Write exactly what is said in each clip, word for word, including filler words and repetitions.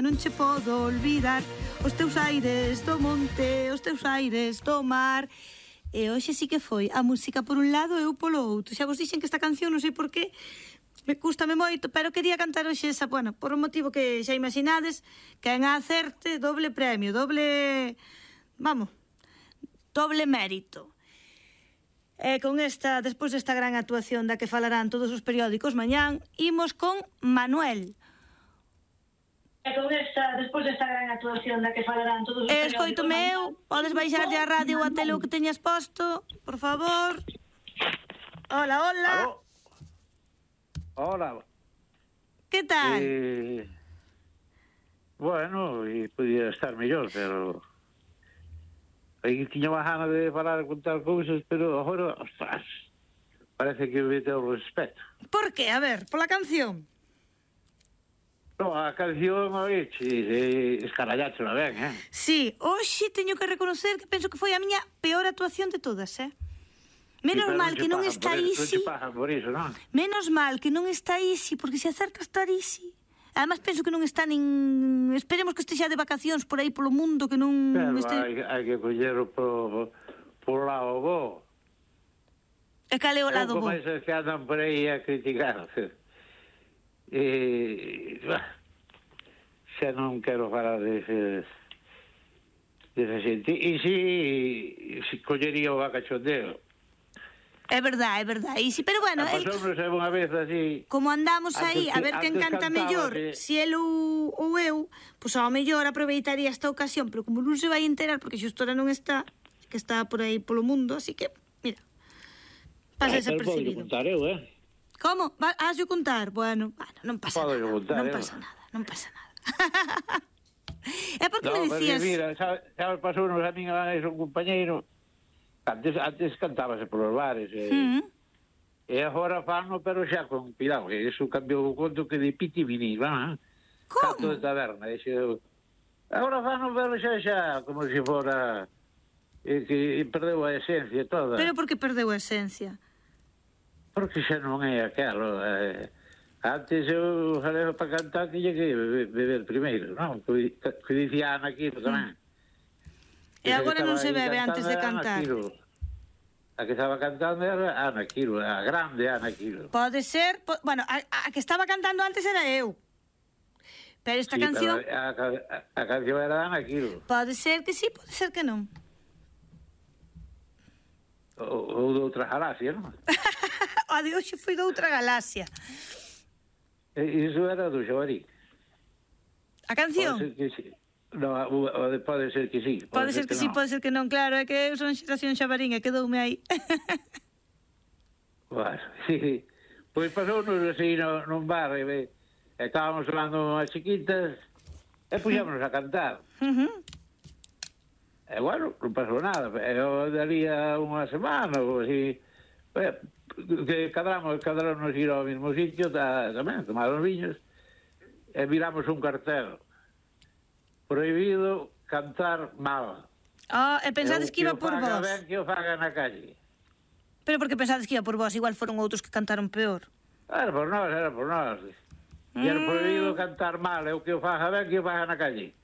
non che podo olvidar, os teus aires do monte, os teus aires do mar. E hoxe sí que foi a música por un lado e eu polo outro. Xa vos dixen que esta canción, non sei por qué, me cústame moito, pero quería cantar hoxe esa, bueno, por un motivo que xa imaginades, que en acerte doble premio, doble, vamos, doble mérito. E con esta, despois desta gran actuación da que falarán todos os periódicos mañán, imos con Manuel. E con esta, despois desta gran actuación da que falarán todos os periódicos... Escoito meu, podes baixarlle a radio ou a tele o que teñas posto, por favor. Hola, hola. Aló. Hola. Que tal? Eh, bueno, e podía estar mellor, pero... Aí tiña má gana de falar e contar cousas, pero agora, ostras, parece que me teo respeto. Por qué? A ver, pola canción? No, a canción, oye, eh, escaralláchela ben, eh? Sí, hoxe teño que reconocer que penso que foi a miña peor actuación de todas, eh? Menos Sí, mal que non está Isi. Non te pagan por iso, non? Menos mal que non está Isi, porque se acerca estar Isi. Además, penso que non está nin... Esperemos que estexa de vacacións por aí polo mundo, que non... Pero este... hai, hai que collero por, por lado bo. E cal é o lado bo? Como esas que andan por aí a criticar. E... Xa non quero falar deses... desa xente. E si... si collería o vacachondeo. É verdade, é verdade. Sí, pero bueno, a pasounos é unha vez así. Como andamos aí a ver quen canta mellor, se si el ou, ou eu, pois ao mellor aproveitaría esta ocasión, pero como non se vai enterar porque xustora non está, que está por aí polo mundo, así que, mira, pasa desapercibido. Podo contar eu, eh? Como? Has de contar? Bueno, bueno, non pasa Podo nada, contar, non eu. pasa nada, non pasa nada. É porque no, me decías... Mira, sabes, sabes pasounos a min a un compañeiro. Antes, antes cantábase polos bares e, mm. e agora fano, pero xa con cuidado, que iso cambiou o conto que de piti vinil, va? Como? Canto de taberna, iso, agora fano, pero xa xa como se fora e, que perdeu a esencia toda. Pero por que perdeu a esencia? Porque xa non é aquelo, eh, antes eu falei para cantar tiña que beber, beber primeiro, non? Que, que dicía Ana Quiro tamén. Mm. E agora non se bebe antes de cantar. A que estaba cantando era Ana Quiro, a grande Ana Quiro. Pode ser, po, bueno, a, a que estaba cantando antes era eu. Pero esta sí, canción... Pero a, a, a canción era Ana Quiro. Pode ser que sí, pode ser que non. Ou, ou de outra galaxia, non? A de hoxe foi de outra galaxia. E, iso era do Xabarín. A canción? Pode ser que sí. No, pode ser que sí. Pode, pode ser que, que sí, no. Pode ser que non, claro, é que eu son xeración Xabarín e quedoume aí. Bueno, sí. Pois pasounos así no, nun bar e, e estábamos falando unhas chiquitas e puxámonos a cantar. Uh-huh. E bueno, non pasou nada. Eu daría unha semana ou así. E, que cadramos, cadramos ir ao mesmo sitio ta, tamén, tomar os viños e miramos un cartel. Prohibido cantar mal. Ah, oh, e pensades que iba por vos? Ben que o faga na calle. Pero porque pensades que iba por vos? Igual foron outros que cantaron peor. Era por nós, era por nós. Mm. E era prohibido cantar mal, e o que o faga ben que o faga na calle.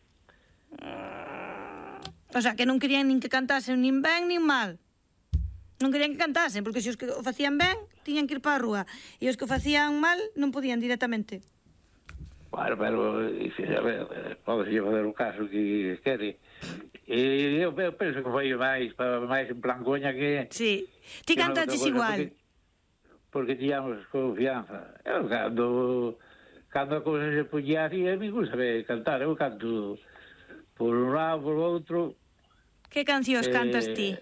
O sea, que non querían nin que cantasen nin ben nin mal. Non querían que cantasen, porque se os que o facían ben, tiñan que ir para a rúa. E os que o facían mal, non podían directamente. Bueno, pero, a ver, pode ser fazer o caso que quere. E eu, eu penso que foi máis, máis en plan coña que... Sí, ti cantaches igual. Porque, porque tíamos confianza. Eu, cando, cando a cousa se puñía así, a mí gusta cantar. Eu canto por un lado, por outro. Que cancións eh, cantas ti?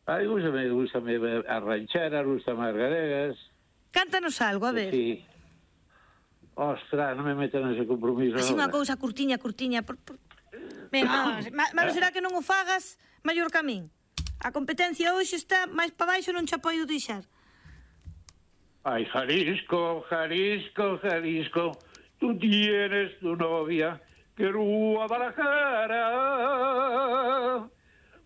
A mí gustame, gustame a ranchera, gustame as galegas. Cántanos algo, a ver. Sí. Ostras, non me metan nese compromiso. Así unha cousa curtiña, curtiña. Por, por... Venga, malo será que non o fagas maior que a min. A competencia hoxe está máis para baixo, non che apoio deixar. Ay, Jalisco, Jalisco, Jalisco, tú tienes tu novia que Guadalajara.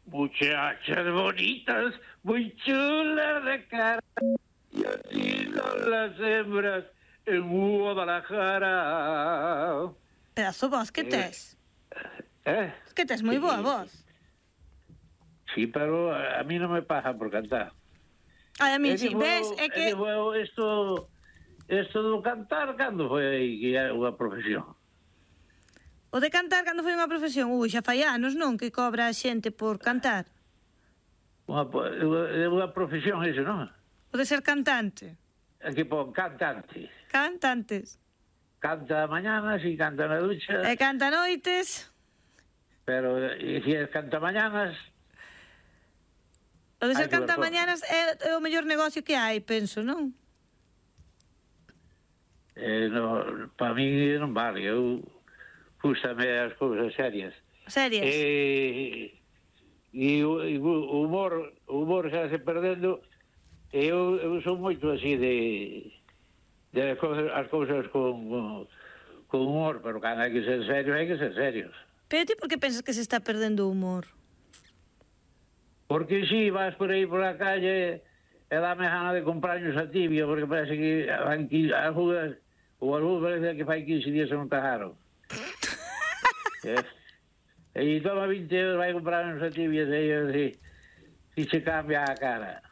Muchachas bonitas, muy chulas de cara, y así son las hembras en Guadalajara. Pedazo voz que tes. Eh? Que tes moi boa voz. Sí, pero a mí non me pagan por cantar. Ai, a mí si, ves, é que... E digo, isto, isto do cantar, cando foi aí que é unha profesión? O de cantar cando foi unha profesión? Ui, xa fai anos, non? Que cobra a xente por cantar. Unha, é unha profesión iso, non? O de ser cantante. Aquí pon cantante. Cantantes. Canta mañanas e canta na ducha. E canta noites. Pero, e se é canta mañanas... O de ser canta mañanas é, é o mellor negocio que hai, penso, non? Eh, no, para mí non vale, eu gústame as cousas serias. Serias? E, e, o, e o humor, o humor xa se perdendo, e eu, eu sou moito así de, de as cousas, as cousas con, con, con humor, pero cando hai que ser serios, hai que ser serios. Pero ti por que pensas que se está perdendo o humor? Porque si vas por aí por a calle e dame gana de comprarnos a tibia, porque parece que aquí algunhas, ou algún parece que fai quince días non tajaron. eh? E toma vinte euros, vai comprarnos a tibia, e eu si, si se cambia a cara.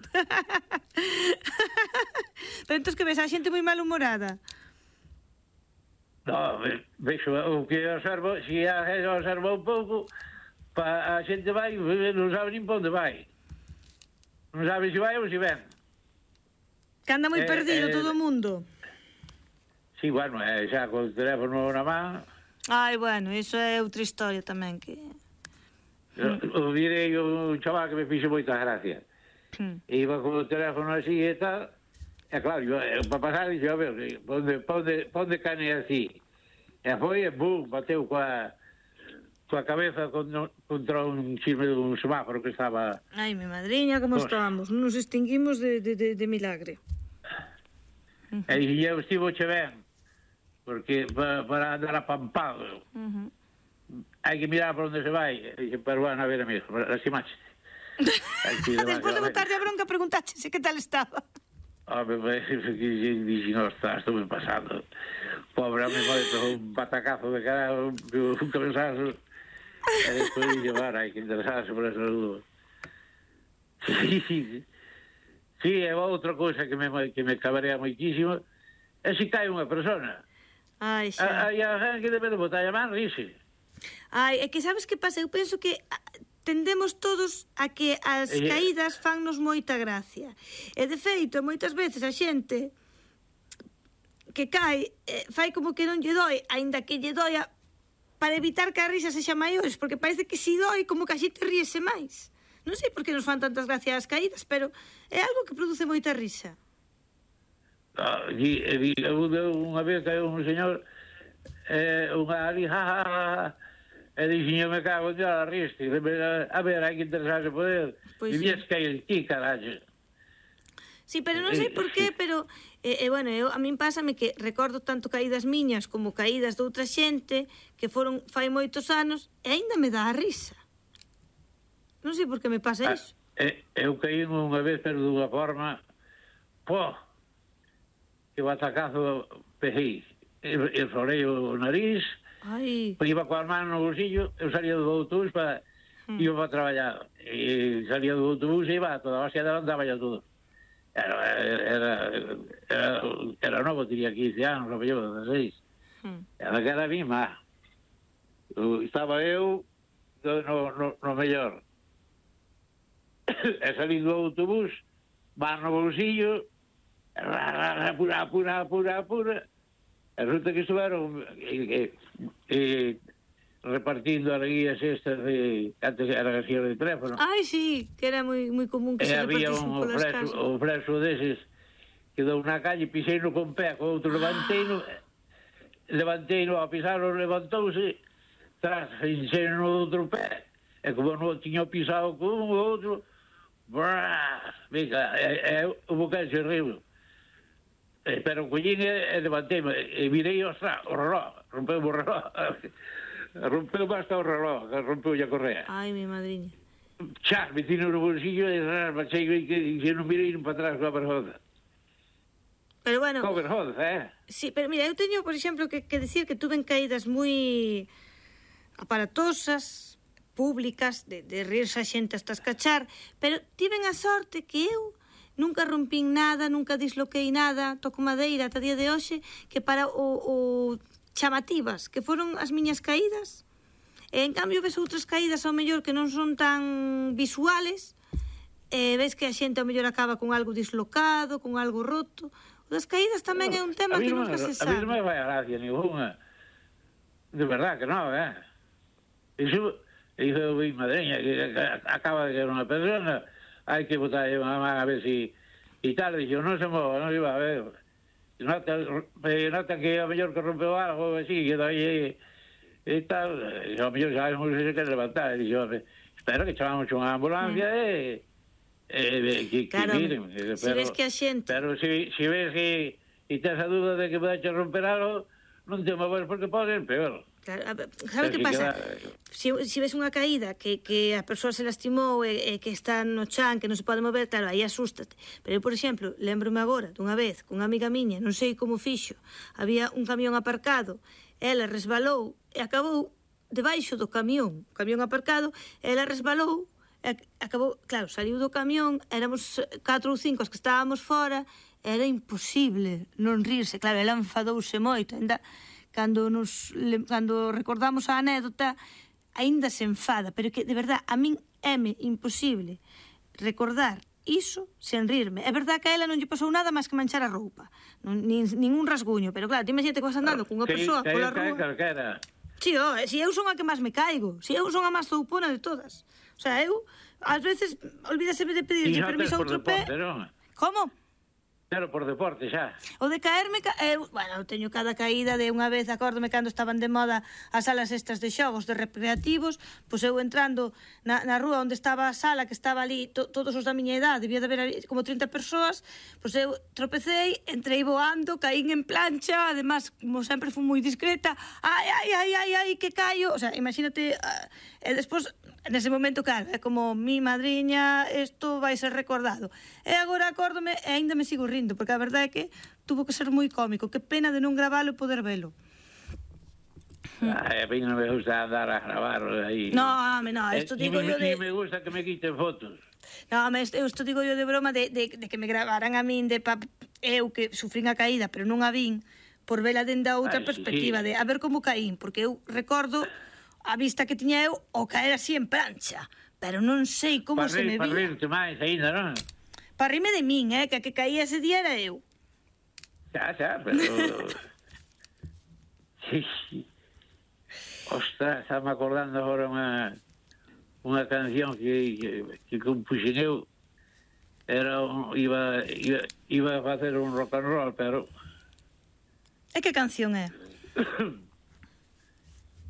Pero entón que ves a xente moi malhumorada? No, vexo o que observo, se a gente observa un pouco, pa, a xente vai, non sabe nin pa onde vai. Non sabe se vai ou se ven. Que anda moi eh, perdido eh, todo o mundo. Sí, bueno, eh, xa con o teléfono na man. Ai, bueno, iso é outra historia tamén que... O direi un chaval que me fixe moita gracia. Hmm. Iba con o teléfono así e tal, e claro, yo, para pasar, dixo, a ver, pa onde, pa onde, pa onde cane así? E foi, e bum, bateu coa... coa cabeza contra un chisme dun semáforo que estaba... Ai, mi madriña, como pues... estábamos, non nos extinguimos de, de, de, de milagre. Uh -huh. E eu estivo che ben, porque para, para andar apampado, uh -huh. hai que mirar por onde se vai, e dixe, pero bueno, a ver, amigo, lastimache. Despois de botarlle a bronca, preguntache se que tal estaba. Home, dixen, ostras, estou me pasando. Pobre, home, un batacazo de cara, un, un cabezazo. E despois de llevar, hai que interesarse por esa saúde. Sí, sí, sí, é outra cousa que me, que me cabrea moitísimo, é se cae unha persona. Ai, xa. Hai a gente que debe de botar a man, rise. Ai, é que sabes que pasa? Eu penso que tendemos todos a que as e... caídas fannos moita gracia. E, de feito, moitas veces a xente que cae, eh, fai como que non lle doi, aínda que lle doia, para evitar que a risa sexa maiores, porque parece que si doi, como que a xente ríese máis. Non sei por que nos fan tantas gracias as caídas, pero é algo que produce moita risa. Ah, e, e, unha vez caeu un señor, eh, unha ali, ja, ja, ja, e dixen, me cago en Dios, a riste. A ver, hai que interesarse por él. E vies que hai ti, carallo. Sí, pero non sei por qué, pero... E, e bueno, eu, a min pásame que recordo tanto caídas miñas como caídas de outra xente que foron fai moitos anos e aínda me dá a risa. Non sei por que me pasa ah, iso. Eh, eu caí unha vez, pero dunha forma... Pô! Que batacazo pejei. Eu florei o nariz, ai. Iba coa mano no bolsillo, eu salía do autobús para... Hmm. Iba para traballar. E salía do autobús e iba a toda a base adelantaba ya todo. Era, era, era, era novo, tenía quince anos, o mellor, dezasseis. Hmm. Era que era a mima. Estaba eu no, no, no mellor. E salí do autobús, van no bolsillo, apura, apura, apura, apura. E resulta que estuveron e, e, repartindo as guías estas de... Antes era as guías de teléfono. Ai, sí, que era moi, moi común que e se repartisen polas casas. O freso deses quedou na calle, pisei no con pé, con outro levanteino, levanteino, a pisarlo, levantouse, tras, enxei no outro pé, e como non tiño pisado con un ou outro, brrrr, venga, e, e o bocal se riu. E, pero collín e, e levantei, e virei, ostra, o reloj, rompeu o reloj. Rompeu basta o reloj, rompeu a correa. Ai, mi madriña. Xa, metino no bolsillo e marchei que, que non mirei para atrás coa persona. Pero bueno... Co vergonza, eh? Sí, pero mira, eu teño, por exemplo, que, que decir que tuven caídas moi aparatosas, públicas, de, de rirse a xente hasta escachar, pero tiven a sorte que eu nunca rompín nada, nunca disloquei nada, toco madeira ata día de hoxe, que para o, o chamativas, que foron as miñas caídas, e en cambio ves outras caídas ao mellor que non son tan visuales, e ves que a xente ao mellor acaba con algo dislocado, con algo roto. O das caídas tamén é un tema que nunca se sabe. A mí non me vai a gracia ninguna. De verdad que non, eh? Iso, iso mi madreña, que acaba de caer unha persona, hai que botar unha man a ver si... E tal, dixo, non se mova, non iba a ver. Nota, nota que a mellor que rompeu algo, así, que dai... E tal, e a mellor sabemos que se quer levantar. E dixo, espero que chamamos unha ambulancia e... Eh, que, claro, que miren, pero, si ves que a xente... Pero si, si ves que e tes a dúda de que podes romper algo, non te moves porque pode ser peor. Claro, sabe que pasa? Queda... Si, si ves unha caída que, que a persoa se lastimou e, e que está no chan, que non se pode mover, claro, aí asústate. Pero eu, por exemplo, lembro-me agora dunha vez cunha amiga miña, non sei como fixo, había un camión aparcado, ela resbalou e acabou debaixo do camión, o camión aparcado, ela resbalou, acabou, claro, saliu do camión, éramos catro ou cinco os que estábamos fora, era imposible non rirse, claro, ela enfadouse moito, ainda cando nos cando recordamos a anécdota, aínda se enfada, pero que de verdad a min éme imposible recordar iso sen rirme. É verdad que a ela non lle pasou nada máis que manchar a roupa, non, nin, ningún rasguño, pero claro, ti imagínate que vas andando cunha persoa pola rúa. Si, oh, si eu son a que máis me caigo, si eu son a máis zoupona de todas. O sea, eu, ás veces, olvídaseme de pedirlle permiso a outro pé. Como? Pero por deporte, xa. O de caerme, eu, bueno, eu teño cada caída de unha vez, acórdome cando estaban de moda as salas estas de xogos, de recreativos, pois eu entrando na, na rúa onde estaba a sala, que estaba ali, to, todos os da miña edad, debía de haber como trinta persoas, pois eu tropecei, entrei voando, caín en plancha, además, como sempre fui moi discreta, ai, ai, ai, ai, ai, que caio, o sea, imagínate, uh, e despois, nese momento, claro, é como mi madriña, isto vai ser recordado. E agora acórdome e aínda me sigo rindo, porque a verdade é que tuvo que ser moi cómico. Que pena de non gravalo e poder velo. Ai, a mí non me gusta andar a gravar aí. No, home, no, isto digo yo de... Ni me gusta que me quiten fotos. No, home, isto digo yo de broma de, de, de que me gravaran a min de pa... eu que sufrín a caída, pero non a vin, por vela dende a outra Ay, perspectiva, sí. de a ver como caín, porque eu recordo a vista que tiña eu o caer así en plancha, pero non sei como pa se me vía. Para rirte máis ainda, non? Para rirme de min, eh, que a que caía ese día era eu. Xa, xa, pero... sí, sí. Ostras, estaba acordando agora unha unha canción que, que, que compuxen eu. Era un, iba, iba, iba a facer un rock and roll, pero... E que canción é?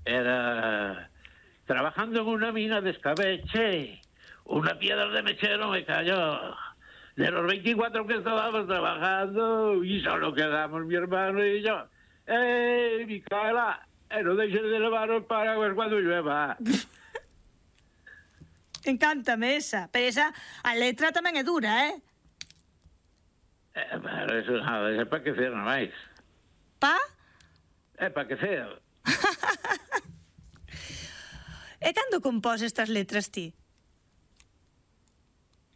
Era trabajando en una mina de escabeche, una piedra de mechero me cayó. De los veinticuatro que estábamos trabajando, y solo quedamos mi hermano y yo. ¡Eh, Micaela! Eh, no dejes de levar el paraguas cuando llueva. Encántame esa, pero esa, a letra tamén é dura, eh? Eh, pero eso nada, é para que ser non máis. Pa? É para que ser. E cando compós estas letras ti?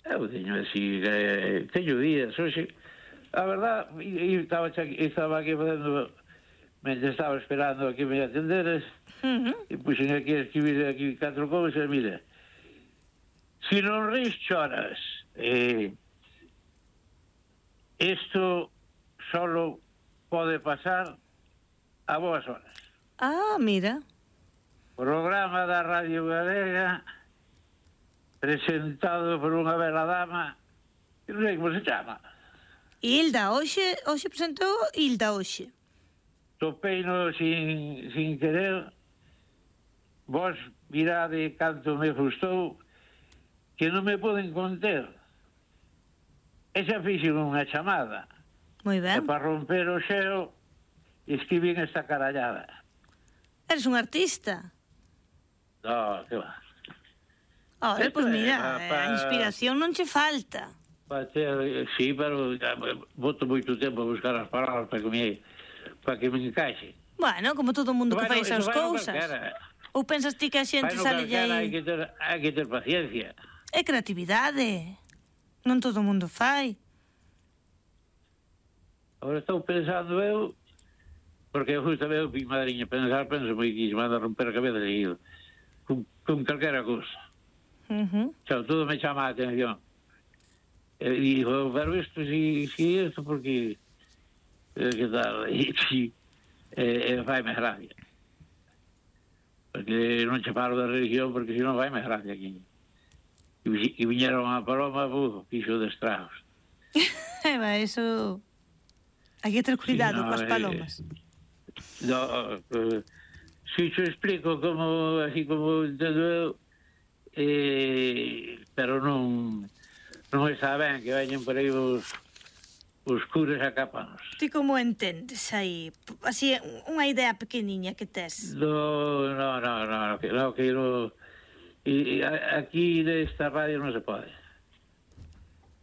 Eu teño así, eh, teño días, hoxe, a verdad, eu estaba, estaba aquí facendo, mentre estaba esperando a que me atenderes, uh -huh. e puxen aquí a escribir aquí catro cousas, mira, si non ris choras, eh, isto solo pode pasar a boas horas. Ah, mira. Programa da Radio Galega presentado por unha bela dama que non sei como se chama. Hilda, hoxe, hoxe presentou Hilda hoxe. Topeino sin, sin querer, vos mirade canto me gustou, que non me poden conter. Esa fixen unha chamada. Moi ben. E para romper o xeo, escribín esta carallada. Eres un artista? No, que va. Ora, pois pues mira, a inspiración non che falta. Pode sí, pero boto moito tempo a buscar as palabras para que me, para que me encaixe. Bueno, como todo o mundo que fai esas cousas. Ou pensas ti que a xente sale aí... Hai que ter, hai que ter paciencia. É creatividade. Non todo o mundo fai. Agora estou pensando eu, porque eu justo veo mi madriña pensar, penso moi que se manda a romper a cabeza seguido, con, con calquera cousa. Uh -huh. O sea, todo me chama a atención. E digo, pero isto, si, si isto, porque... Eh, que tal? E, si, eh, vai-me gracia. Porque non che falo da religión, porque se non vai-me gracia aquí. E, e viñeron a Paloma, buf, fixo de estragos. Eva, eso... Hai que ter cuidado sí, no, coas palomas. Eh, no, eh, si te explico como, así como entendo eu, eh, pero non... Non está ben que veñen por aí os, os curas a cápanos. Ti como entendes aí? Así, unha idea pequeniña que tes. No, no, no, no, que no, que no, y, aquí nesta radio non se pode.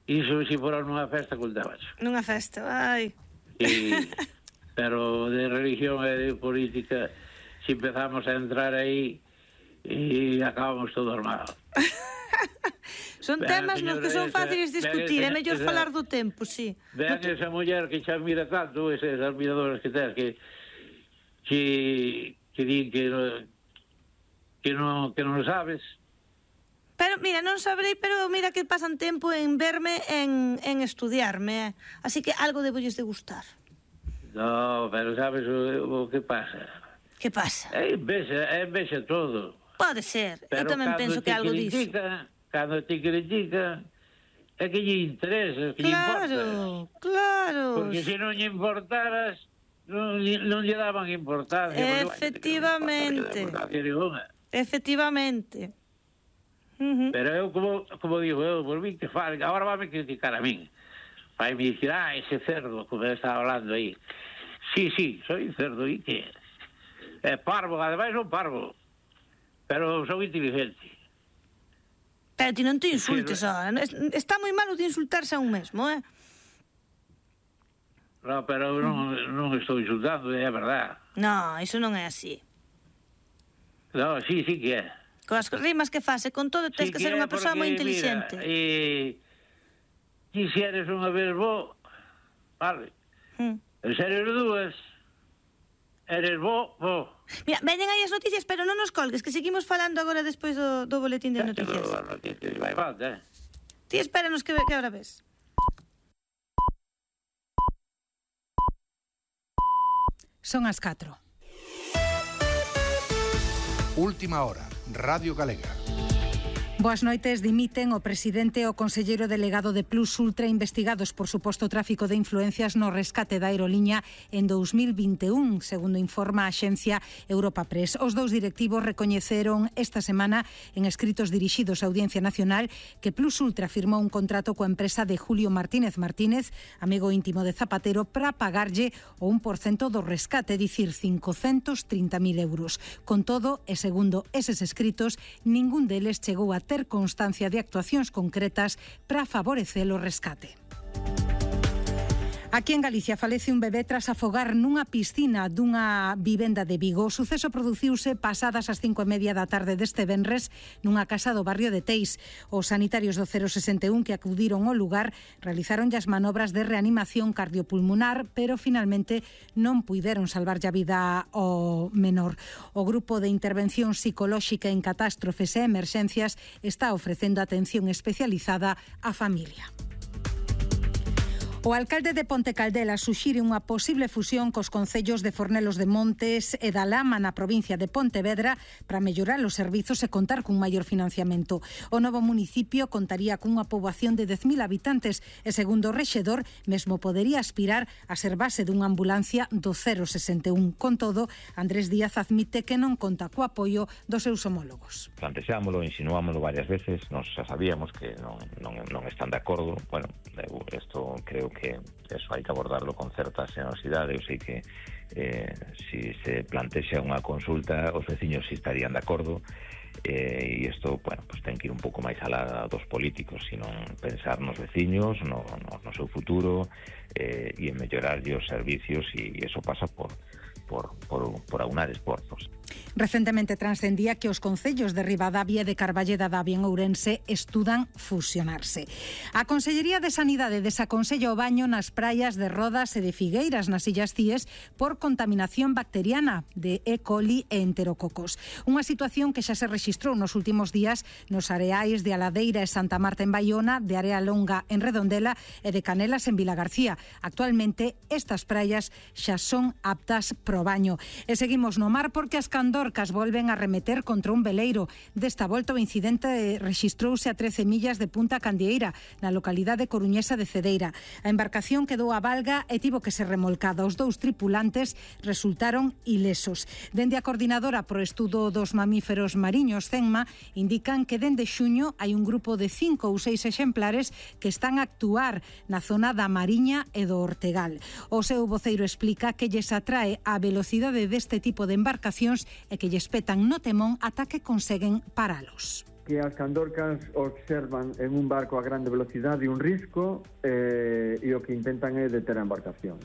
Iso se fora nunha festa contabas. Nunha festa, ai. Y, pero de religión e de política, se si empezamos a entrar aí, e acabamos todo armado. Son temas nos que son fáciles de discutir, é mellor falar do tempo, sí. Vean esa muller que xa mira tanto, esas admiradoras que tens, que que, que din que non, que non, que non sabes. Pero, mira, non sabrei, pero mira que pasan tempo en verme, en, en estudiarme, eh? Así que algo debulles de gustar. No, pero sabes o, o que pasa? Que pasa? É envexa, é envexa todo. Pode ser, eu tamén penso que algo disso. Cando te critican, é que lle interesa, que lle importa. Claro, claro. Porque se non lle importaras, non, non lle daban importancia. Efectivamente. Efectivamente. Uh -huh. Pero eu, como, como digo, eu, por mí que fale, agora vai me criticar a min. Vai me dicir, ah, ese cerdo, como estaba hablando aí. Sí, sí, soy cerdo, e que é parvo, ademais son parvo, pero son inteligente. Pero ti non te insultes, ahora. Está moi malo de insultarse a un mesmo, eh? No, pero non, non estou insultando, é verdad. No, iso non é así. No, sí, sí que é. Coas rimas que faz, e con todo tens sí que, que ser unha persoa moi inteligente. Mira, e... ti se eres unha vez bo, vale. Hmm. E se eres dúas, eres bo, bo. Mira, veñen aí as noticias, pero non nos colgues, que seguimos falando agora despois do, do boletín de noticias. Vai falta, eh? Ti espéranos que, que ahora ves. Son as catro. Última hora, Radio Galega. Boas noites. Dimiten o presidente e o conselleiro delegado de Plus Ultra investigados por suposto tráfico de influencias no rescate da aeroliña en dous mil vinte e un, segundo informa a axencia Europa Press. Os dous directivos recoñeceron esta semana en escritos dirixidos á Audiencia Nacional que Plus Ultra firmou un contrato coa empresa de Julio Martínez Martínez, amigo íntimo de Zapatero, para pagarlle o un por cento do rescate, dicir cincocentos trinta mil euros. Con todo, e segundo eses escritos, ningún deles chegou a ter constancia de actuacións concretas para favorecer o rescate. Aquí en Galicia falece un bebé tras afogar nunha piscina dunha vivenda de Vigo. O suceso produciuse pasadas as cinco e media da tarde deste venres nunha casa do barrio de Teis. Os sanitarios do cero sesenta e un que acudiron ao lugar realizaron as manobras de reanimación cardiopulmonar, pero finalmente non puideron salvarlle a vida ao menor. O grupo de intervención psicolóxica en catástrofes e emerxencias está ofrecendo atención especializada á familia. O alcalde de Ponte Caldela suxire unha posible fusión cos concellos de Fornelos de Montes e da Lama na provincia de Pontevedra para mellorar os servizos e contar cun maior financiamento. O novo municipio contaría cunha poboación de dez mil habitantes e, segundo o rexedor, mesmo podería aspirar a ser base dunha ambulancia do cero sesenta e un. Con todo, Andrés Díaz admite que non conta co apoio dos seus homólogos. Plantexámoslo, insinuámoslo varias veces, nos xa sabíamos que non, non, non están de acordo. Bueno, isto creo que eso hai que abordarlo con certa xenerosidade. Eu sei que eh, si se plantexa unha consulta, os veciños si estarían de acordo, eh, e isto, bueno, pues ten que ir un pouco máis alá dos políticos, sino pensar nos veciños, no, no, no seu futuro, eh, e en mellorarlle os servicios, e iso pasa por por, por, por aunar esforzos. Recentemente transcendía que os concellos de Ribadavia e de Carballeda da Avia en Ourense estudan fusionarse. A Consellería de Sanidade desaconsella o baño nas praias de Rodas e de Figueiras, nas Illas Cíes, por contaminación bacteriana de E. coli e enterococos. Unha situación que xa se rexistrou nos últimos días nos areais de Aladeira e Santa Marta en Baiona, de Area Longa en Redondela e de Canelas en Vilagarcía. Actualmente, estas praias xa son aptas pro baño. E seguimos no mar porque as candorcas volven a remeter contra un veleiro. Desta volta o incidente rexistrouse a trece millas de Punta Candieira, na localidade coruñesa de Cedeira. A embarcación quedou a valga e tivo que ser remolcada. Os dous tripulantes resultaron ilesos. Dende a Coordinadora pro Estudo dos Mamíferos Mariños, CENMA, indican que dende xuño hai un grupo de cinco ou seis exemplares que están a actuar na zona da Mariña e do Ortegal. O seu voceiro explica que lles atrae a velocidade deste tipo de embarcacións e que lles petan no temón ata que conseguen paralos. Que as candorcas observan en un barco a grande velocidade un risco eh, e o que intentan é deter a embarcación.